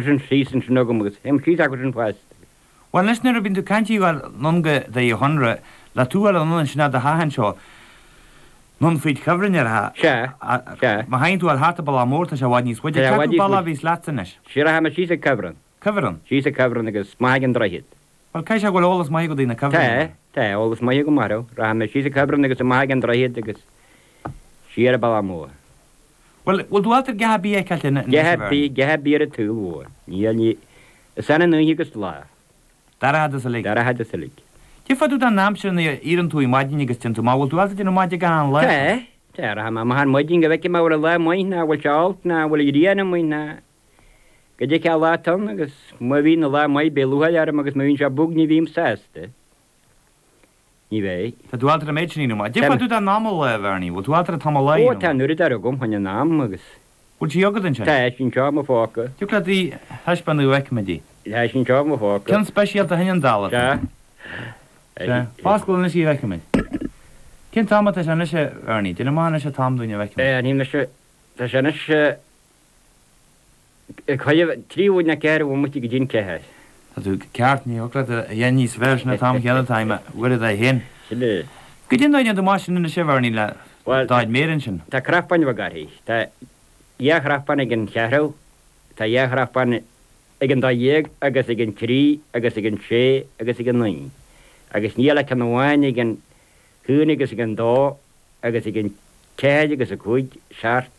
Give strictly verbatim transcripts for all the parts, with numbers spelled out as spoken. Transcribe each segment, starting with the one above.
sin síos ansin agam agus théim síos acu sin fosta. Bhuel anois nuair a bíonn tú ag caint anonn go Doire Chonaire, le tú a fháil anonn ansin do theach anseo, anonn fríd chuibhreann ar a. Sea, sea. Má théann tú a fháil thart an bealach mór tá sé i bhfad níos faide. Cé acu bealach a bhíos leatsa anois? Sea, rachaidh mé síos ag cuibhreann. Cuibhreann? Síos ag cuibhreann agus amach ag an droichead. Bhuel caithfidh sé go bhfuil eolas maith agat ar na cuibhrinn. Tá, tá eolas maith agam orthu. Rachaidh mé síos ag cuibhreann agus amach ag an droichead agus siar an bealach mór. Bhuel, bhfuil tú ábalta a dhath ar bith a fheiceáilt anois, A dhath ar bith, a dhath ar bith ar an tsaol mhór. Níl, ní, is annamh an oíche agus lá. Dorcha is uilig. Dorcha is uilig. Cé fá dtaobh den aimsir nuair a éiríonn tú ar maidin agus téann tú amach, bhfuil tú ábalta déanamh amach ag an lá? Tá, tá, rachaidh mé amach ar maidin go bhfeicfidh mé bhfuil an lá maith ná bhfuil sé olc ná bhfuil an ghrian amuigh ná goidé cén lá atá ann agus má bhíonn an lá maith beidh lúcháir orm agus má bhíonn sé bog ní bhím sásta. Ní bheidh. Tá tú ábalta an méid sin a dhéanamh. Cé fá dtaobh den am a lá, a Bhernie, bhfuil tú ábalta an t-am a lá a Ó, dhéanamh? tá an uaireadóir agam chun an am agus. Bhfuil sí agat ansin? Tá sí anseo i mo phóca. Thiocfadh leat í a thaispeánadh go bhfeicfimid í. Tá sí anseo i mo phóca. Ceann speisialta shin an dall Sea. Sea. Foscail anois í a bhfeicfimid. Cén t-am atá sé anois, a Bhernie? Déan amach anois an t-am dúinn a bhfeicfimid. Ní mise. Tá sé anois trí bhuail na ceathair bhomaite go dtí an ceathair. Tá tú ceart, ní thiocfadh leat a dhéanamh níos fearr, sin an t-am chéanna atá i m'uaireadóir féin. Sin é. Goidé an dóigh a ndéanann tú amach sin anois a Bhernie le Bhuel, d'fhad méire ansin? tá cnapán bheag uirthi. Tá dhá chnapán ag an cheathrú, tá dhá chnapán ag an dó dhéag agus ag an trí agus ag an sé agus ag an naoi. Agus níl ach ceann amháin ag an haon agus ag an dó agus ag an ceathair agus a cúig, seacht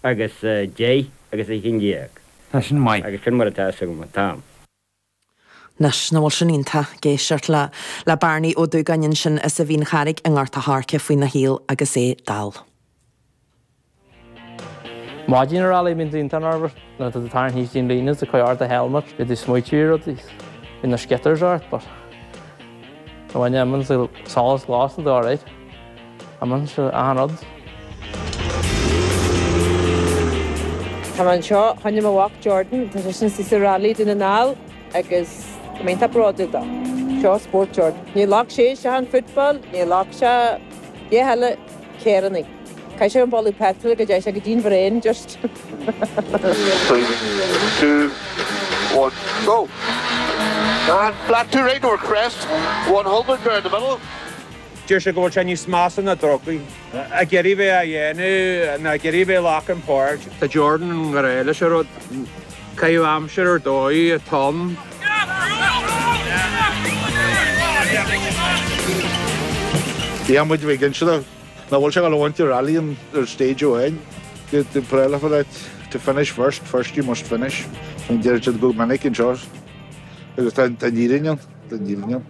agus deich agus a haon déag. Tá sin maith. Agus sin mar atá a fhios agam an t-am. Anois, nach bhfuil sin iontach ag éisteacht le le Bearnaí Ó Dúgáin ansin as an Mhín Charraig i nGort a' Choirce faoina shaol agus é dall. Maidin ar rally bíonn tú iontach nervous nuair atá tú ag tarraingt thíos dtí'n líne is ag cur ort do helmet, bíonn tú ag smaoitiú ar rudaí, bíonn na skitters ort but bhain imíonn solas glas tá tú alright. Imíonn sé achan rud. Tá mé anseo choinne mo mhac Jordan, tá seisean istigh sa Rally Dún na nGall agus tá mé iontach bródúil dó. Seo spórt Jordan. Ní ghlac sé isteach an football, ní ghlac sé a dhath eile carrannaí. Caithfidh sé an boladh petrol go dtéigh sé go dtí'n bhrain just. Three, two, one, go! And flat two right over crest, one hundred there in the middle. Deir sé go bhfuil sé níos measa ná drugaí. Ag iarraidh bheith á dhéanamh ná ag iarraidh bheith ag glacadh páirt. Tá Jordan i ngrá leis an rud. Caitheamh aimsire ar dóigh atá ann. Bhí muid ag inse dó nach bhfuil sé ag dul a bhaint an rally ar stage amháin. The prelafar to finish first, first you must finish. Deir siad go minic anseo agus tá an fhírinne ann, tá an fhírinne ann.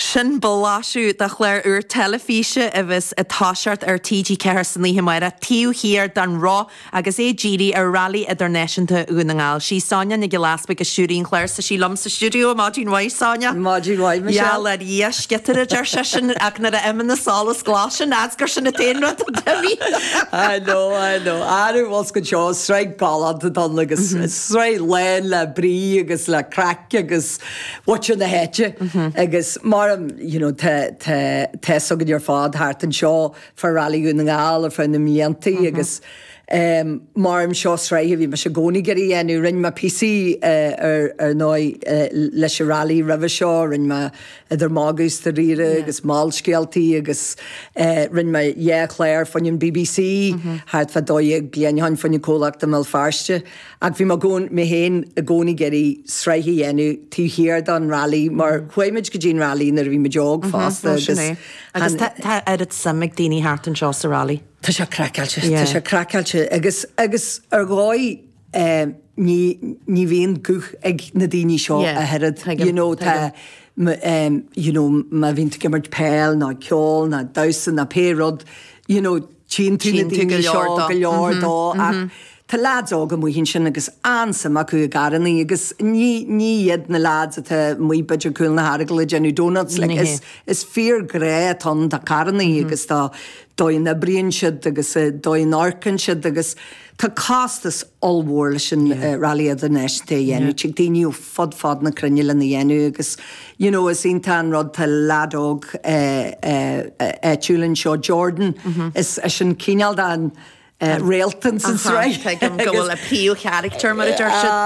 Sin blaiseadh de chlár úr teilifíse a bheas ag toiseacht ar T G ceathair san oíche amárach, Taobh Thiar den Roth, agus é dírithe ar Railí Idirnáisiúnta Dhún na nGall. Sí Sonia Nic Giolla Easpaig a stiúraigh an clár 's tá sí liom sa stiúideo. Maidin mhaith, Sonia. Maidin mhaith, Michelle. Gheall ar Dhia, sciotaire a deir seisean, ach nuair a imíonn an solas glas sin, as gur sin an t-aon rud a d'imigh. I know, I know. Arú, bhfuil go seo, sraith galánta atá ann agus sraith lán le brí agus le craic agus muintir na háite agus mar you know tá tá tá fhios againn ar fad thart anseo fá Rally Dhún na nGall ar feadh na mblianta agus um, mar seo sraith a bhí mise i gcónaí ag iarraidh a dhéanamh. Rinne mé píosaí uh, ar ar ndóigh uh, leis an rally roimhe seo, rinne mé idir magadh is dáiríre agus molscéaltaí agus uh, rinne mé dhá chlár fá choinne an B B C thart fá dó dhéag bliain ó shin fá choinne comhlacht i mBéal Feirste. Ach bhí mé gcón- mé féin i gcónaí ag iarraidh sraith a dhéanamh taobh thiar den rally mar chuaigh muid go dtí an rally nuair a bhí muid óg fosta Ó, sin agus é. Agus tá tá oiread suim ag daoine thart anseo sa rally. Tá sé craiceáilte, Yeah. tá sé craiceáilte agus agus ar dhóigh eh, ní ní bhíonn guth ag na daoine seo Yeah, a oiread. tuigim, You know, tá tuigim. m- um, you know, má bhíonn tú ag imirt peil ná ceol ná damhsa ná pé rud, you know, tchíonn tú na Tchíonn tú go daoine leor seo dó. go leor dó ach tá lads óga amuigh ansin agus an-suim acu i gcarrannaí agus ní ní iad na lads atá amuigh b'fhéidir Cúil na hEaragail ag déanamh donuts, like, Ní hé. is is fíor grá atá ann do carrannaí agus dá dóigh a n-oibríonn siad agus eh, dóigh a n-amharcann siad agus tá costas ollmhór leis an eh, Rally Idirnáisiúnta a dhéanamh. Tig daoine ó fud fad na cruinne lena dhéanamh agus you know, is iontach an rud tá lad óg eh, eh, eh, áitiúil anseo Jordan is is sin cineál den réalt ins an sraith. Tuigim go bhfuil a príomhcharachtar mar a deir siad.